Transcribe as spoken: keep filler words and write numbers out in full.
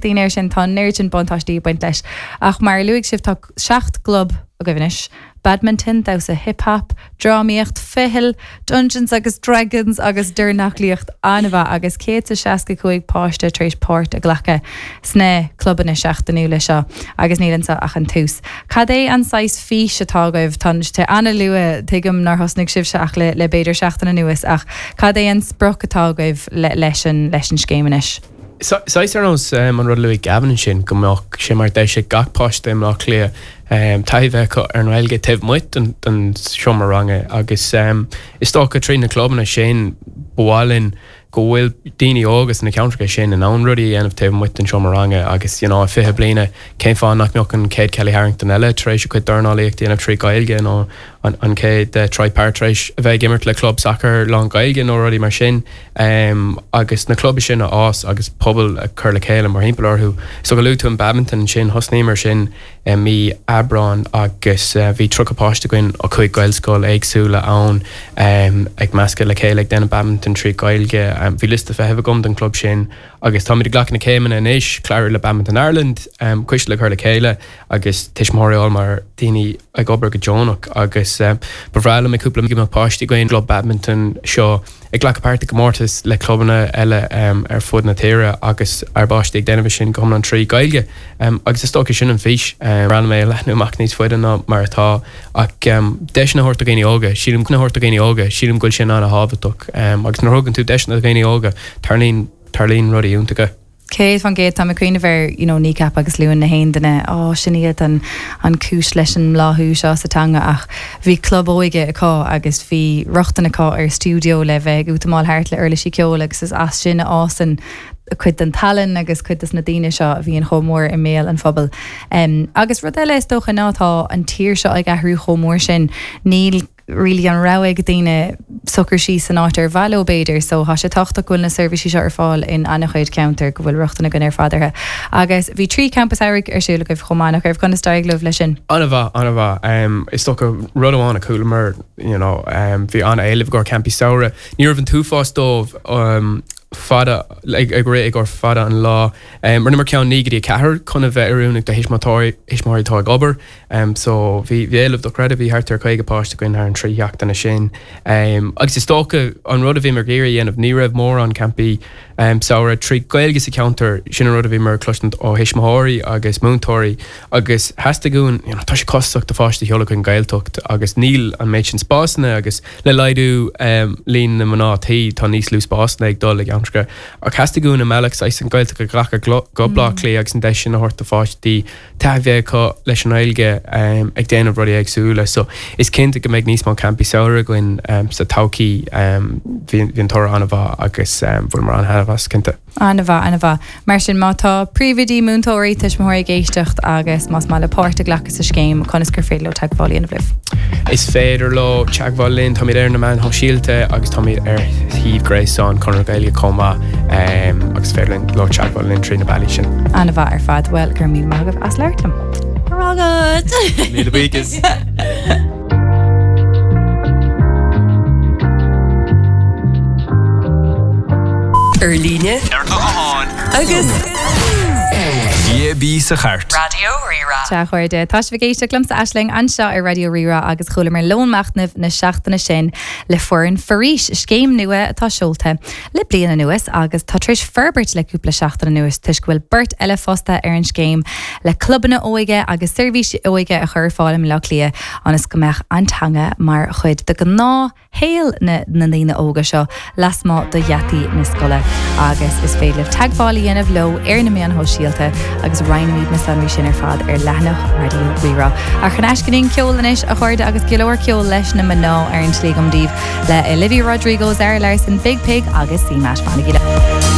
daoine air sin tá an oiread sin buntáistí ag baint leis. Ach mar a luaigh sibh tá seacht gclub agaibh anois. Badminton, damhsa hip-hop, drámaíocht, ficheall, Dungeons agus Dragons agus dornálaíocht an-mhaith agus céad is seasca cúig páiste tar éis páirt a ghlacadh sna clubanna seachtainiúla seo agus níl anseo ach an tús. Cad é an saghas fís atá agaibh tá sé an-luath tuigim nár thosnaigh sibhse ach le le b'fhéidir seachtain anuas ach cad é an sprioc atá agaibh le leis an leis an scéim anois? Saghas ar nós um, an rud a luaigh Gavin sin go mbeadh sé mar deis ag gach páiste i mBleá Cliath um, taithí bheith acu ar an Ghaeilge taobh amuigh den, den seomra ranga agus um, is dócha trí na clubanna sin ba mhaith linn go bhfuil daoine óga sna ceantracha sin in ann rudaí a dhéanamh taobh amuigh den seomra ranga agus you know, fiche bliana cén fáth nach mbeadh an chéad Kelly Harrington eile tar éis a cuid dornálaíocht dhéanamh trí Ghaeilge nó an, an chéad uh, Troy Parrott tar éis a bheith ag imirt le club sacair lán Gaeilge nó rudaí mar sin um, agus na club sin a fhás agus pobal a chur le chéile mar thimpeall orthu. So go luaigh tú an badminton sin thosnaíomar sin um, mí Aibreán agus uh, bhí tríocha páiste againn ó chúig Gaelscoil éagsúla ann um, ag meascadh le chéile ag déanamh badminton trí Ghaeilge. Um, bhí liosta feithimh agam den club sin agus táimid ag glacadh na céimeanna anois clárú le Badminton Ireland um, coiste le cur le chéile agus tuismitheoirí mar daoine ag obair go deonach agus um, ba bhreá liom cúpla go mbeadh páistí againn club badminton seo ag glacadh páirt i gcomórtas le clubanna eile um, ar fud na tíre agus ár bpáistí ag déanamh sin go hiomlán trí Ghaeilge um, agus is dócha sin an fhís um, ran mé leathnú amach níos faide ná mar atá ach um, deiseanna a thabhairt do dhaoine óga, sílim na thabhairt do dhaoine óga, sílim go bhfuil sin an-thábhachtach um, agus nuair a thugann tú deiseanna do dhaoine óga tarlaíonn tarlaíonn rudaí iontacha. Céad faoin gcéad tá mé ag cuimhneamh ar you know, Kneecap agus Luan na haon duine á sin iad an, an cúis leis an mbláthú seo sa teanga ach bhí club óige acu agus bhí rochtain acu ar stiúideo le bheith ag útamáil thart le uirlisí ceoil agus is as sin a fhásann cuid den tallann agus cuid des na daoine seo a bhíonn chomh mór i mbéal an phobail. Um, agus rud eile is dócha ná tá an tír seo ag athrú chomh mór sin níl really an rogha ag daoine socrú síos san áit ar mhaith leo b'fhéidir, so tá sé tábhachtach go bhfuil na seirbhísí seo ar fáil in an-chuid ceantar go bhfuil rochtain againn ar fad orthu. Agus bhí trí campa samhraidh ar siúl agaibh chomh maith nach raibh conas d'éirigh libh leis sin. An-mhaith an-mhaith um, is dócha rud amháin a chualamar you know, um, bhí an-éileamh ar campaí samhraidh. Ní raibh an t-uafás dóibh um, fada ag ag ré ag gur fada an lá. Um, Rinneamar ceann naoi go dtí ceathair chun a bheith oiriúnach do thuismitheoirí thuismitheoirí atá ag obair. Um, so bhí bhí éileamh dochreidte bhí thart ar caoga páiste againn thar an trí sheachtaine sin. Um, agus is dócha an rud a bhí mar géir dhéanamh ní raibh mórán campaí um, samhraidh trí Ghaeilge sa cheantar sin an rud a bhí mar cloisint ó thuismitheoirí agus múinteoirí agus theastaigh uainn you know, tá sé costasach do pháiste a sheoladh chuig an Ghaeltacht agus níl an méid sin spásanna agus le laghdú um, líon na mná tí tá níos lú spásanna ag dul i gceantracha ach theastaigh uainn i mbealach saghas an Ghaeltacht a ghlacadh go Bleá Cliath agus an deis sin a thabhairt do pháistí taithí bheith acu leis an Ghaeilge um, ag déanamh rudaí éagsúla so is cinnte go mbeidh níos mó campaí samhraidh againn um, sa todhchaí um, bhí bhí an toradh an-mhaith agus um, bhfuil mar an-thaitneamh as cinnte. An-mhaith an-mhaith. Mar sin má tá príomhoidí múinteoirí tuismitheoirí ag éisteacht agus más maith leo páirt a ghlacadh sa scéim conas gur féidir leo teagmháil a dhéanamh libh. Is féidir leo teagmháil linn táimid ar na meáin shóisialta agus táimid ar shuíomh gréasáin Chonradh na Gaeilge chomh maith um, agus féidir linn leo teagmháil linn trí na bealaí sin. An-mhaith ar fad well gur mí maith as labhairt liom. Ragad! Míle buíochas. Ar líne Ar do ghuthán agus DAB sa chairt. Raidió Rí-Rá. Sea a chairde, tá sibh ag éisteacht liomsa Aisling anseo ar Raidió Rí-Rá agus chualamar lón machnaimh na seachtaine sin le foireann Foraois, scéim nua atá seolta le bliain anuas agus tá tar éis forbairt le cúpla seachtain anuas toisc go bhfuil beirt eile fostaithe ar an scéim le clubanna óige agus seirbhísí óige a chur ar fáil i mBleá Cliath ionas go mbeadh an teanga mar chuid de ghnáth shaol na na ndaoine óga seo lasmuigh de gheataí na scoile agus is féidir libh teagmháil a dhéanamh leo ar na meáin shóisialta agus roinnfimid na sonraí sin ar fad ar leathanach Raidió Rí-Rá. Ach chun aiscin ceol anois a chairde agus go leor ceol leis na mná ar an tslí agam daoibh le Olivia Rodrigo, Zara Larsson, Biig Piig agus CMAT. Fanaigí.